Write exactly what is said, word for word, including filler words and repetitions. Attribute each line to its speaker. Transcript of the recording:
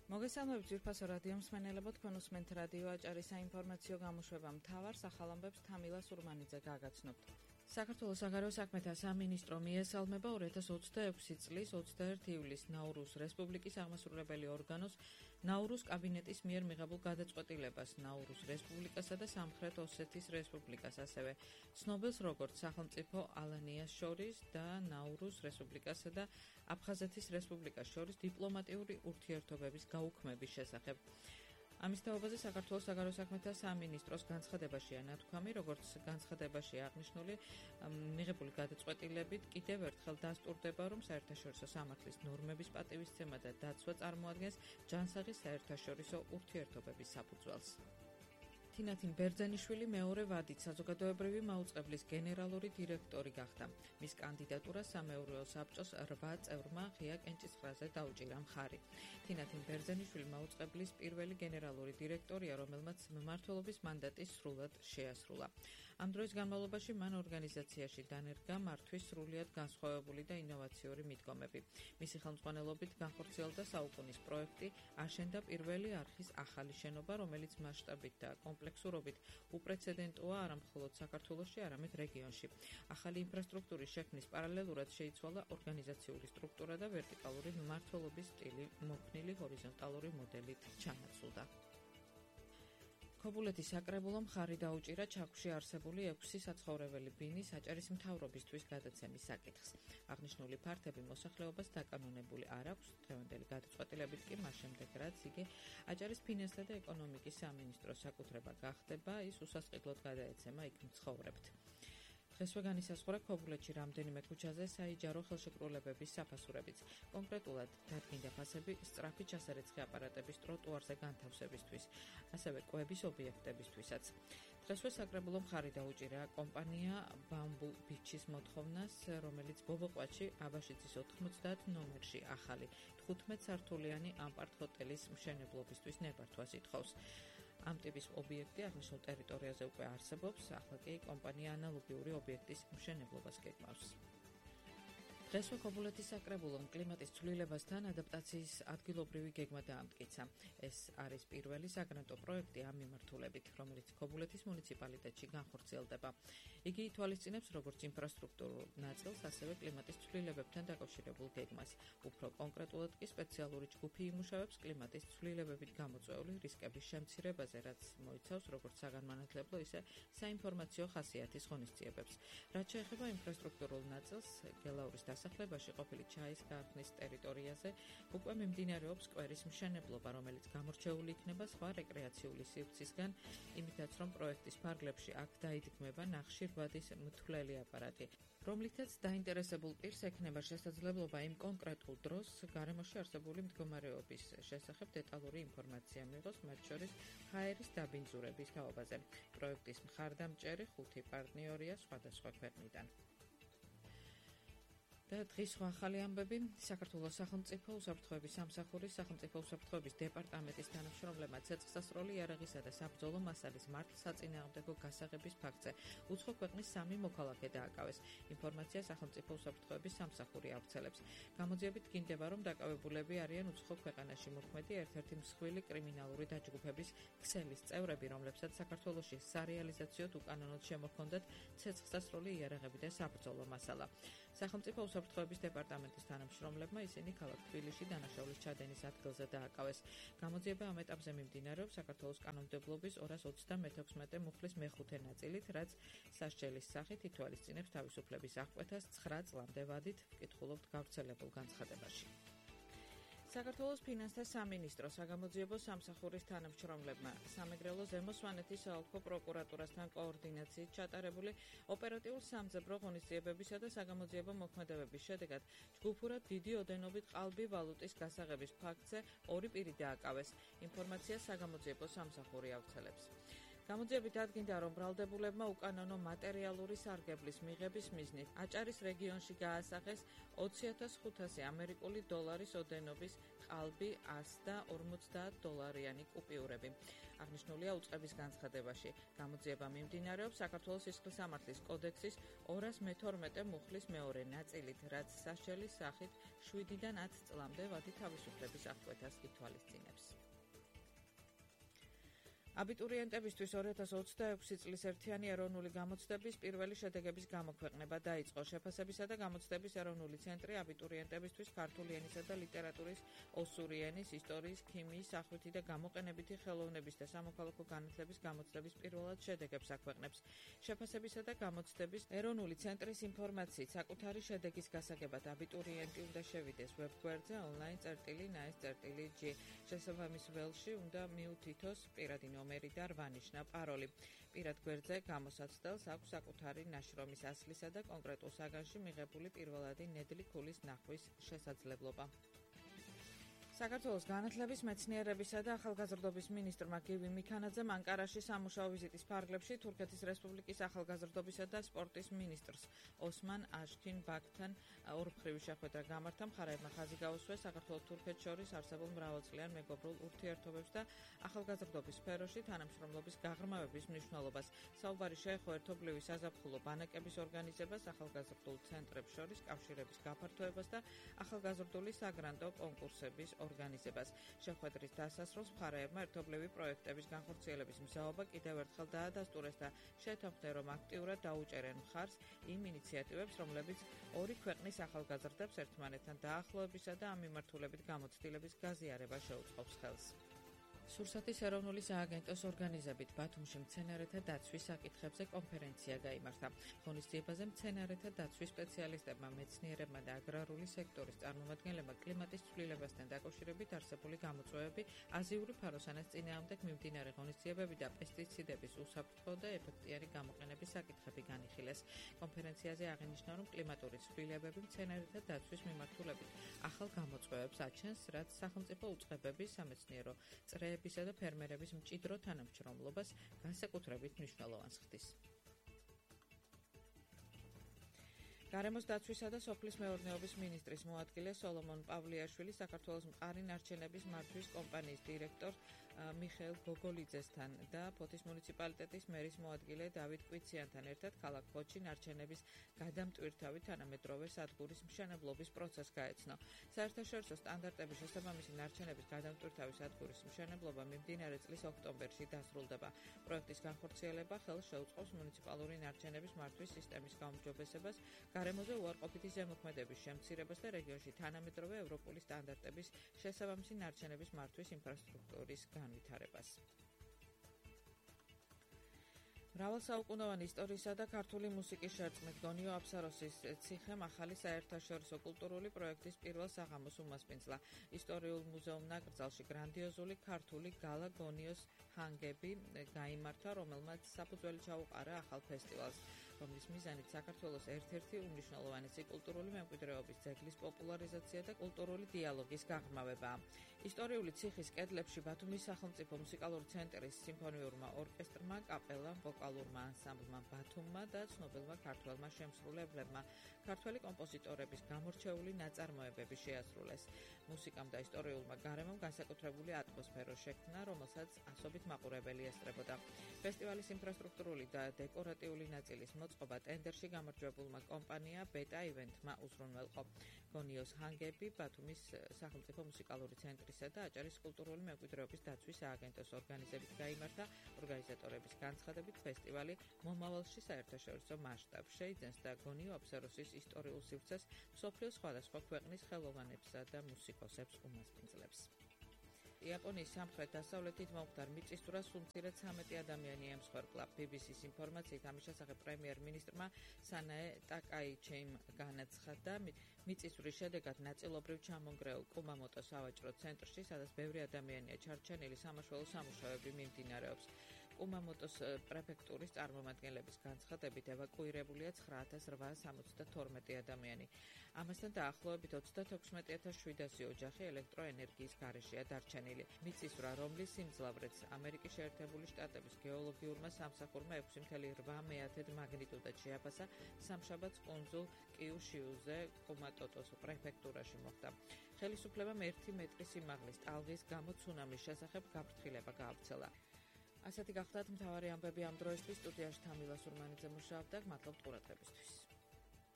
Speaker 1: მოგესალმებით ძვირფასო რადიო მსმენელებო, თქვენ უსმენთ რადიო აჭარის საინფორმაციო გამოშვება მთავარ სახალამბებს თამილა სურმანიძე გაგაცნობთ. საქართველოს საგარეო საქმეთა სამინისტრო მიესალმება ორი ათას ოცდაექვსი წლის ოცდაერთი ივლისს ნაურუს რესპუბლიკის აღმასრულებელი ორგანოს ნაურუს კაბინეტის მიერ მიღებულ გადაწყვეტილებას ნაურუს რესპუბლიკასა და სამხრეთ ოსეთის რესპუბლიკას, ასევე ცნობილს როგორც სახელმწიფო ალანიას შორის და ნაურუს რესპუბლიკასა და აფხაზეთის რესპუბლიკას შორის დიპლომატიური ურთიერთობების გაუქმების შესახებ. ამის თაობაზე საქართველოს საგარეო საქმეთა სამინისტროს განცხადებაშია ნათქვამი, როგორც განცხადებაშია აღნიშნული, მიღებული გადაწყვეტილებით კიდევ ერთხელ დასტურდება, რომ საერთაშორისო სამართლის ნორმების პატივისცემა და დაცვა წარმოადგენს ჯანსაღი საერთაშორისო ურთიერთობების საფუძველს. თინათინ ბერძენიშვილი მეორე ვადით საზოგადოებრივი მაუწყებლის გენერალური დირექტორი გახდა. მის კანდიდატურას სამეურვეო საბჭოს რვა წევრმა ღია კენჭისყრაზე დაუჭირა მხარი. თინათინ ბერძენიშვილი მაუწყებლის პირველი გენერალური დირექტორია, რომელმაც მმართველობის მანდატი სრულად შეასრულა. ამ დროის განმავლობაში მან ორგანიზაციაში დანერგა მართვის სრულიად განსხვავებული და ინოვაციური მიდგომები. მისი ხელმძღვანელობით განხორციელდა საუკუნის პროექტი, აშენდა პირველი არხის ახალი შენობა, რომელიც მასშტაბით და კომპლექსურობით უპრეცედენტოა არა მხოლოდ საქართველოში, არამედ რეგიონში. ახალი ინფრასტრუქტურის შექმნის პარალელურად შეიცვალა ორგანიზაციული სტრუქტურა და ვერტიკალური მმართველობის სტილი, მოქნილი ჰორიზონტალური მოდელით ჩანაცვლდა. ქობულეთის საკრებულომ მხარი დაუჭირა ჩაქვში არსებული ექვსი საცხოვრებელი ბინის აჭარის მთავრობისთვის გადაცემის საკითხს. აღნიშნული ფართები მოსახლეობას დაკანონებული არ აქვს, დღევანდელი გადაწყვეტილებით კი მას შემდეგ, რაც იგი აჭარის ფინანსთა და ეკონომიკის სამინისტროს საკუთრება გახდება, ის უსასყიდლოდ გადაეცემა იქ მცხოვრებთ. დღესვე განისაზღვრა ქობულეთში რამდენიმე ქუჩაზე საიჯარო ხელშეკრულებების საფასურებიც. კონკრეტულად დადგინდა ფასები სწრაფი ჩასარეცხი აპარატების ტროტუარზე განთავსებისთვის, ასევე კვების ობიექტებისთვისაც. დღესვე საკრებულომ მხარი დაუჭირა კომპანია ბამბუ ბიჩის მოთხოვნას, რომელიც ბობოყვათში აბაშიძის ოთხმოცდაათ ნომერში ახალი თხუთმეტ სართულიანი ამპარტ ჰოტელის მშენებლობისთვის ნებართვას ითხოვს. ამ ტიპის ობიექტი აღნიშნულ ტერიტორიაზე უკვე არსებობს, ახლა კი კომპანია ანალოგიური ობიექტის მშენებლობას გეგმავს. დღესვე ქობულეთის საკრებულომ კლიმატის ცვლილებასთან ადაპტაციის ადგილობრივი გეგმა დაამტკიცა. ეს არის პირველი საგრანტო პროექტი ამ მიმართულებით, რომელიც ქობულეთის მუნიციპალიტეტში განხორციელდება. იგი ითვალისწინებს როგორც ინფრასტრუქტურულ ნაწილს, ასევე კლიმატის ცვლილებებთან დაკავშირებულ გეგმას. უფრო კონკრეტულად კი სპეციალური ჯგუფი იმუშავებს კლიმატის ცვლილებებით გამოწვეული რისკების შემცირებაზე, რაც მოიცავს როგორც საგანმანათლებლო, ისე საინფორმაციო ხასიათის ღონისძიებებს. რაც შეეხება ინფრასტრუქტურულ ნაწილს, გელაურის დასახლებაში ყოფილი ჩაის გარხნის ტერიტორიაზე უკვე მიმდინარეობს სკვერის მშენებლობა, რომელიც გამორჩეული იქნება სხვა რეკრეაციული სივრცისგან, იმითაც რომ პროექტის ფარგლებში აქ დაიდგმება ნახშირბადის მთვლელი აპარატი, რომლითაც დაინტერესებულ პირს ექნება შესაძლებლობა იმ კონკრეტულ დროს გარემოში არსებული მდგომარეობის შესახებ დეტალური ინფორმაცია მიიღოს, მათ შორის ჰაერის დაბინძურების თაობაზე. პროექტის მხარდამჭერი ხუთი პარტნიორია სხვადასხვა ქვეყნიდან. და დღის სხვა ახალი ამბები. საქართველოს სახელმწიფო უსაფრთხოების სამსახურის სახელმწიფო უსაფრთხოების დეპარტამენტის თანამშრომლებმა ცეცხლსასროლი იარაღისა და საბრძოლო მასალის მართლსაწინააღმდეგო გასაღების ფაქტზე უცხო ქვეყნის სამი მოქალაქე დააკავეს. ინფორმაცია სახელმწიფო უსაფრთხოების სამსახური ავრცელებს. გამოძიებით გინდება, რომ დაკავებულები არიან უცხო ქვეყანაში მოქმედი ერთ-ერთი მსხვილი კრიმინალური დაჯგუფების ქსელის წევრები, რომლებსაც საქართველოში სარეალიზაციოდ უკანონოდ შემოჰქონდათ ცეცხლსასროლი იარაღები და საბრძოლო მასალა. სახელმწიფო უსაფრთხოების დეპარტამენტის თანამშრომლებმა ისინი ქალაქ თბილისში დანაშაულის ჩადენის ადგილზე დააკავეს. გამოძიება ამ ეტაპზე მიმდინარეობს საქართველოს კანონმდებლობის ორას ოცდამეთექვსმეტე მუხლის მეხუთე ნაწილით, რაც სასჯელის სახით ითვალისწინებს თავისუფლების აღკვეთას ცხრა წლამდე ვადით, ვკითხულობთ გავრცელებულ განცხადებაში. საქართველოს ფინანსთა სამინისტრო საგამოძიებო სამსახურის თანამშრომლებმა სამეგრელო ზემო სვანეთის საოლქო პროკურატურასთან კოორდინაციით ჩატარებული ოპერატიულ სამძებრო ღონისძიებებისა და საგამოძიებო მოქმედებების შედეგად ჯგუფურად დიდი ოდენობით ყალბი ვალუტის გასაღების ფაქტზე ორი პირი დააკავეს. ინფორმაცია საგამოძიებო სამსახური ავრცელებს. გამოძიებით დადგინდა, რომ ბრალდებულებმა უკანონო მატერიალური სარგებლის მიღების მიზნით აჭარის რეგიონში გაასახეს ოცი ათას ხუთასი ამერიკული დოლარის ოდენობის ყალბი ას და ორმოცდაათ დოლარიანი კუპიურები. აღნიშნულია უწყების განცხადებაში. გამოძიება მიმდინარეობს საქართველოს სისხლისამართლის კოდექსის ორას მეთორმეტე მუხლის მეორე ნაწილით, რაც სასჯელის სახით შვიდიდან ათ წლამდე ვადი თავისუფლების აღკვეთას ითვალისწინებს. აბიტურიენტებისთვის ორი ათას ოცდაექვსი წლის ერთიანი ეროვნული გამოცდების პირველი შედეგების გამოქვეყნება დაიწყო. შეფასებისა და გამოცდების ეროვნული ცენტრი აბიტურიენტებისთვის ქართული ენისა და ლიტერატურის, ოსური ენის, ისტორიის, ქიმიის, სახვითი და გამოყენებითი ხელოვნების და სამოქალაქო განათლების გამოცდების პირველად შედეგებს აქვეყნებს. შეფასებისა და გამოცდების ეროვნული ცენტრის ინფორმაციით საკუთარი შედეგის გასაგებად აბიტურიენტი უნდა შევიდეს ვებგვერდზე online.nas.g. შესაბამის ველში უნდა მიუთითოს პირადი ნომერი და რვანიშნა პაროლი. პირად გვერდზე გამოსაცდელს აქვს საკუთარი ნაშრომის ასლისა და კონკრეტულ საგანში მიღებული პირველადი ნედლი ქულის ნახვის შესაძლებლობა. საქართველოს განათლების, მეცნიერებისა და ახალგაზრდობის მინისტრმა გივი მიქანაძემ ანკარაში სამუშაო ვიზიტის ფარგლებში თურქეთის რესპუბლიკის ახალგაზრდობისა და სპორტის მინისტრს ოსმან აშქინ ბაქთან ორმხრივი შეხვედრა გამართა. მხარეებმა ხაზი გაუსვეს საქართველოს-თურქეთს შორის არსებულ მრავალწლიან მეგობრულ ურთიერთობებს და ახალგაზრდობის სფეროში თანამშრომლობის გაღრმავების მნიშვნელობას. საუბარი შეეხო ერთობლივი საზაფხულო ბანაკების ორგანიზებას, ახალგაზრდულ ცენტრებს შორის კავშირების გაფართოებას და ახალგაზრდული საგრანტო კონკურსების ორგანიზებას. შეხვედრის დასასრულს მხარეებმა ერთობლივი პროექტების განხორციელების მზაობა კიდევ ერთხელ დაადასტურეს და შეთანხმდნენ, რომ აქტიურად დაუჭერენ მხარს იმ ინიციატივებს, რომლებიც ორი ქვეყნის ახალგაზრდებს ერთმანეთთან დაახლოებისა და ამ მიმართულებით გამოცდილების გაზიარებას შეუწყობს ხელს. სურსათის ეროვნული სააგენტოს ორგანიზებით ბათუმში მცენარეთა დაცვის საკითხებზე კონფერენცია გაიმართა. ღონისძიებაზე მცენარეთა დაცვის სპეციალისტებმა, მეცნიერებმა და აგრარული სექტორის წარმომადგენლებმა კლიმატის ცვლილებასთან დაკავშირებით არსებული გამოწვევები, აზიური ფაროსანას წინააღმდეგ მიმდინარე ღონისძიებები და პესტიციდების უსაფრთხო და ეფექტიანი გამოყენების საკითხები განიხილეს. კონფერენციაზე აღინიშნა, რომ კლიმატური ცვლილებები მცენარეთა დაცვის მიმართულებით ახალ გამოწვევებს აჩენს, რაც სახელმწიფო უწყებების, სამეცნიერო წრეების და ფერმერების მჭიდრო თანამშრომლობას განსაკუთრებით მნიშვნელოვანს ხდის. გარემოს დაცვისა და სოფლის მეურნეობის მინისტრის მოადგილე სოლომონ პავლიაშვილი საქართველოს მყარი ნარჩენების მართვის კომპანიის დირექტორ მიხეილ გოგოლიძესთან და ფოთის მუნიციპალიტეტის მერის მოადგილე დავით კვიციანთან ერთად ქალაქ ფოთში ნარჩენების გადამტვირთავი თანამედროვე სადგურის მშენებლობის პროცესს გაეცნო. საერთაშორისო სტანდარტების შესაბამისი ნარჩენების გადამტვირთავი სადგურის მშენებლობა მიმდინარე წლის ოქტომბერში დასრულდება. პროექტის განხორციელება ხელს შეუწყობს მუნიციპალური ნარჩენების მართვის სისტემის გაუმჯობესებას, გარემოზე უარყოფითი ზემოქმედების შემცირებას და რეგიონში თანამედროვე ევროპული სტანდარტების შესაბამისი ნარჩენების მართვის ინფრასტრუქტურის განვითარებას. მრავალსაუკუნოვანი ისტორიისა და ქართული მუსიკის შერწყმით გონიო აფსაროსის ციხემ ახალი საერთაშორისო კულტურული პროექტის პირველ საღამოს უმასპინძლა. ისტორიულ მუზეუმ ნაკრძალში გრანდიოზული ქართული გალა გონიოს ჰანგები გაიმართა, რომელმაც საფუძველი ჩაუყარა ახალ ფესტივალს, რომლის მიზანით საქართველოს ერთ-ერთი უმნიშვნელოვანესი კულტურული მემკვიდრეობის ძეგლის პოპულარიზაცია და კულტურული დიალოგის გაღრმავებაა. ისტორიული ციხის კედლებში ბათუმის სახელმწიფო მუსიკალური ცენტრის სიმფონიურმა ორკესტრმა, კაპელამ, ვოკალურმა ანსამბლმა ბათუმმა და ცნობილმა ქართველმა შემსრულებლებმა ქართველი კომპოზიტორების გამორჩეული ნაწარმოებები შეასრულეს. მუსიკამ და ისტორიულმა გარემომ განსაკუთრებული ატმოსფერო შექმნა, რომელსაც ასობით მაყურებელი ესწრებოდა. ფესტივალის ინფრასტრუქტურული და დეკორატიული ნაწილის მოწყობა ტენდერში გამარჯვებულმა კომპანია ბეტა ივენთმა უზრუნველყო. გონიოს ჰანგები ბათუმის სახელმწიფო მუსიკალური ცენტრისა და აჭარის კულტურული მემკვიდრეობის დაცვის სააგენტოს ორგანიზებით გაიმართა. ორგანიზატორების განცხადებით ფესტივალი მომავალში საერთაშორისო მასშტაბს შეიძენს და გონიო აფსაროსის ისტორიულ სივრცეს მსოფლიოს სხვადასხვა ქვეყნის ხელოვანებსა და მუსიკოსებს უმასპინძლებს. იაპონიის სამხრეთ-დასავლეთით მომხდარ მიწისძვრას სულ ცამეტი ადამიანი ემსხვერპლა. ბი ბი სის ინფორმაციით ამის შესახებ პრემიერ-მინისტრმა სანაე ტაკაიჩიმ განაცხადა, მიწისძვრის შედეგად ნაწილობრივ ჩამონგრეულ კუმამოტოს სავაჭრო ცენტრში, სადაც ბევრი ადამიანია ჩარჩენილი, სამაშველო სამუშაოები მიმდინარეობს. კუმამოტოს პრეფექტურის წარმომადგენლების განცხადებით ევაკუირებულია ცხრა ათას რვაას ორმოცდათორმეტი ადამიანი. ამასთან დაახლოებით ოცდათექვსმეტი ათას შვიდასი ოჯახი ელექტროენერგიის გარეშეა დარჩენილი. მიწისძვრა, რომლის სიმძლავრეც ამერიკის შეერთებული შტატების გეოლოგიურმა სამსახურმა ექვსი კoma რვა მეათედ მაგნიტუდად შეაფასა სამშაბათს კუნძულ კიუშიუზე კუმამოტოს პრეფექტურაში მოხდა. ხელისუფლებამ ერთი მეტრის სიმაღლის ტალღის გამო ცუნამის შესახებ გაფრთხილება გაავრცელა. ასეთი გახლდათ მთავარი ამბები ამ დროისთვის. სტუდიაში თამილა სურმანიძე მუშაობდა. მადლობთ ყურადღებისთვის.